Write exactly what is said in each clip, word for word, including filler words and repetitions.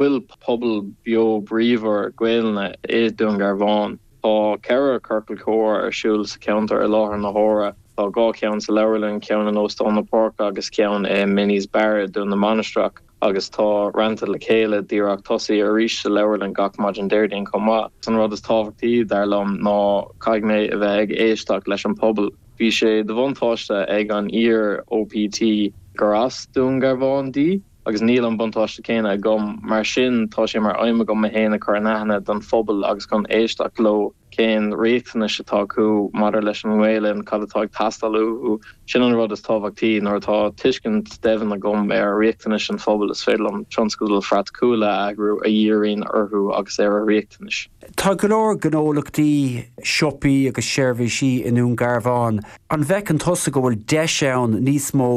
bhfuil pobal beo bríomhar Gaelainne i Dún Garbhán. Tá ceithre ciorcal comhrá ar siúl sa cheantar i láthair na huaire. Tá dhá cheann sa leabharlann, ceann in Óstán na Páirce agus ceann i Minnie's Bar i Dún na Mainistreach. agus tá Rannta le Chéile díreach tosaithe arís sa leabharlann gach maidin Déardaoin chomh maith. An rud is tábhachtaí dar liom ná caithfidh mé a bheith ag éisteacht leis an pobal. Bhí sé de bhuntáiste ag an iar OPT gur as Dún Garbhán di, agus níl an buntáiste céanna agam mar sin tá sé mar aidhm agam mé féin a chur in aithne don phobal agus chun éisteacht leo cén riachtanais atá acu maidir leis an nGaelainn cad atá ag teastáil uathu sin an rud is tábhachtaí nuair atá tuiscint deimhin agam ar riachtanais an phobail is féidir liom tionscadail phraiticiúla a eagrú a dhíríonn orthu agus ar a riachtanais. Tá go leor gnólachtaí siopaí agus seirbhísí i nDún Garbhán. An bhfeiceann tusa go bhfuil deis ann níos mó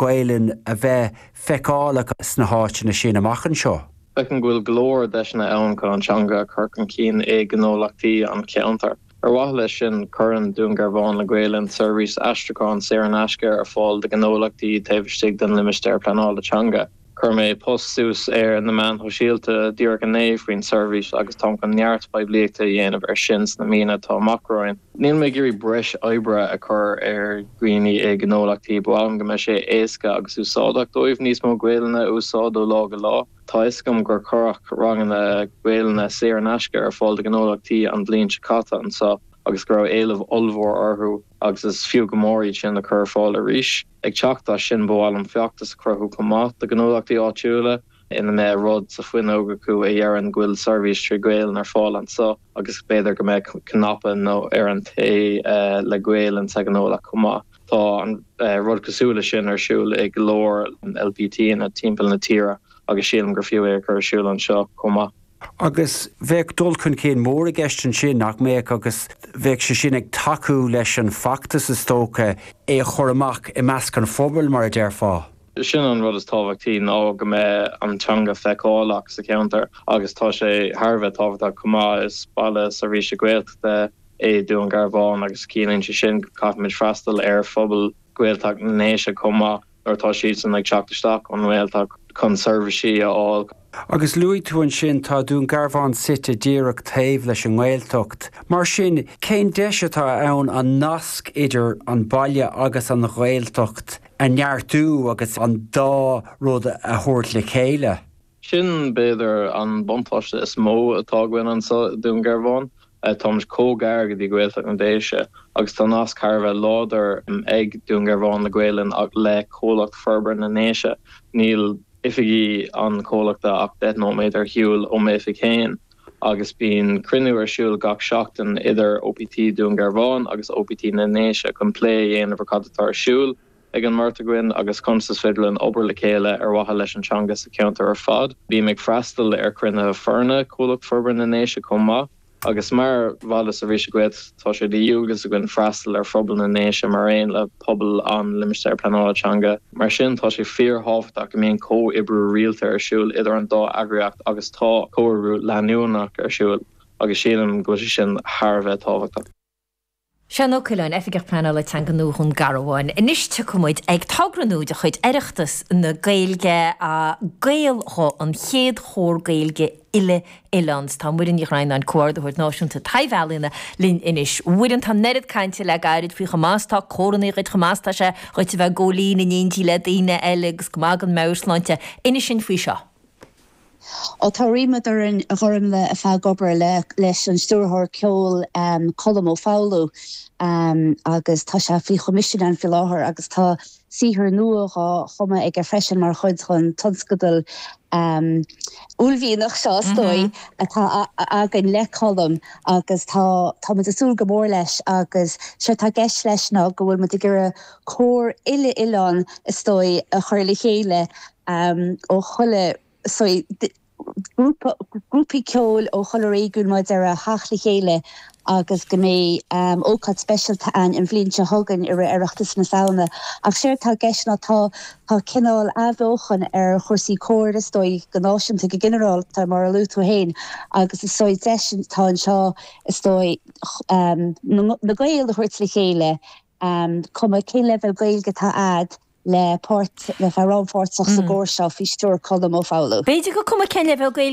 Gaelainn a bheith feiceálach sna háiteanna sin amach anseo. Feicim go bhfuil go leor deiseanna ann chun an teanga a chur chun cinn i ngnólachtaí an cheantair. Ar mhaithe leis sin cuireann Dún Garbhán le Gaelainn seirbhís aistriúcháin saor in aisce ar fáil do ghnólachtaí taobh istigh den limistéar pleanála teanga. Chuir mé post suas ar na meáin shóisialta díreach inné faoin seirbhís agus tá chun neart poiblíochta a dhéanamh ar sin sna míonna atá amach romhainn. Níl mé ag iarraidh breis oibre a chur ar dhaoine i ngnólachtaí b'fhearr go mbeadh sé éasca agus úsáideach dóibh níos mó Gaelainne a úsáid ó lá go lá. Tá a fhios agam gur cuireadh ranganna Gaelainne saor in aisce ar fáil do ghnólachtaí an bhliain seo caite anseo agus go raibh éileamh ollmhór orthu agus is fiú go mór iad sin a chur ar fáil arís. Ag teacht as sin b'fhearr liom feachtas a chruthú chomh maith do ghnólachtaí áitiúla ina mbeidh rud sa fuinneog acu a deireann go bhfuil seirbhís trí Ghaelainn ar fáil anseo agus b'fhéidir go mbeidh cnaipe nó ar an tae uh, le Gaelainn sa ghnólacht chomh maith. Tá an uh, rud cosúil leis sin ar siúl ag go leor LPT ina timpeall na tíre agus sílim gur fiú é chur ar siúl anseo chomh maith. Agus bheadh dul chun cinn mór i gceist ansin nach mbeadh agus bheadh sé sin ag tacú leis an bhfeachtas is dócha é a chur amach i measc an phobail mar a déarfá. Sin an rud is tábhachtaí ná go mbeidh an teanga feiceálach sa cheantar agus tá sé thar a bheith tábhachtach chomh maith is baile seirbhíse Gaeltachta é Dún Garbhán agus ciallaíonn sé sin caithfimid freastal ar phobal Gaeltacht na nDéise chomh maith nuair atá siad san ag teacht isteach ón nGaeltacht chun seirbhísí a fháil. Agus luaigh tú ansin tá Dún Garbhán suite díreach taobh leis an nGaeltacht. Mar sin cén deis atá ann an nasc idir an baile agus an Ghaeltacht a neartú agus an dá rud a thabhairt le chéile. Sin b'fhéidir an buntáiste is mó atá againn anseo Dún Garbhán. Táimid chomh gar go dtí Gaeltacht na nDéise agus tá nasc thar a bheith láidir ag Dún Garbhán le Gaelainn le Comhlacht Forbartha na nDéise. Níl oifigí an chomhlachta ach deich nóiméad ar shiúl ó m'oifig féin agus bíonn cruinniú ar siúl gach seachtain idir OPT Dún Garbhán agus OPT na nDéise chun plé a dhéanamh ar cad atá ar siúl ag an mbeirt againn agus conas is féidir linn obair le chéile ar mhaithe leis an teanga sa cheantar ar fad. Bím ag freastal ar chruinnithe foirne Comhlacht Forbartha na nDéise chomh maith. agus mar bhaile seirbhíse Gaeltachta tá sé de dhualgas againn freastal ar phobal na nDéise mar aon le pobal an limistéir pleanála teanga. Mar sin tá sé fíorthábhachtach go mbíonn comhoibriú rialta ar siúl idir an dá eagraíocht agus tá comhoibriú leanúnach ar siúl agus sílim go bhfuil sé sin thar a bheith tábhachtach. Seán Ó Coileáin Oifigeach Pleanála Teanga nua Dhún Garbhán. Anois tiocfaimid ag togra nua de chuid Oireachtas na Gaeilge a Gaelghuth an chéad chór Gaeilge uile-oileáin. Tá Muireann Ní Dhroighneáin comhordaitheoir náisiúnta taibh-ealaíona linn anois. Muireann tá an oiread cainte le gairid faoi chomh maith is atá córanna dhuit chomh maith is atá sé dhuit a bheith ag gabháil fhoinn in éindí le daoine eile agus go maith don meabhairshláinte. Inis dúinn faoi seo. Ó tá ríméad orainn a Ghormfhlaith a bheith ag obair le leis an stiúrthóir ceoil um, Colm Ó Foghlú um, agus tá sé faoi choimisiún an faoi láthair agus tá saothar nua á chumadh aige freisin mar chuid den tionscadal um, uaillmhianach seo is dóigh mm -hmm. atá againn le Colm agus tá tá muid ag súil go mór leis agus sé tá i gceist leis ná go bhfuil muid ag iarraidh cór uile-oileáin is dóigh a chur le chéile um, ó chuile so grúpaí ceoil ó chuile réigiún mar a theacht le chéile agus go mbeidh um, ócáid speisialta an an bhliain seo chugainn i Oireachtas na Samhna. Ach sé tá i gceist ná tá tá cineál athbheochan ar chúrsaí cóir is dóigh go náisiúnta go ginearálta mar a luaigh tú féin agus is dóigh deis tá anseo is dóigh um, na Gaeil a thabhairt le chéile um, cuma cén leibhéal Gaeilge atá agat le páirt le bheith rannpháirteach sa gcór seo faoi stiúir Colm Ó Foghlú. B'fhéidir gur cuma cén leibhéal Gaeilge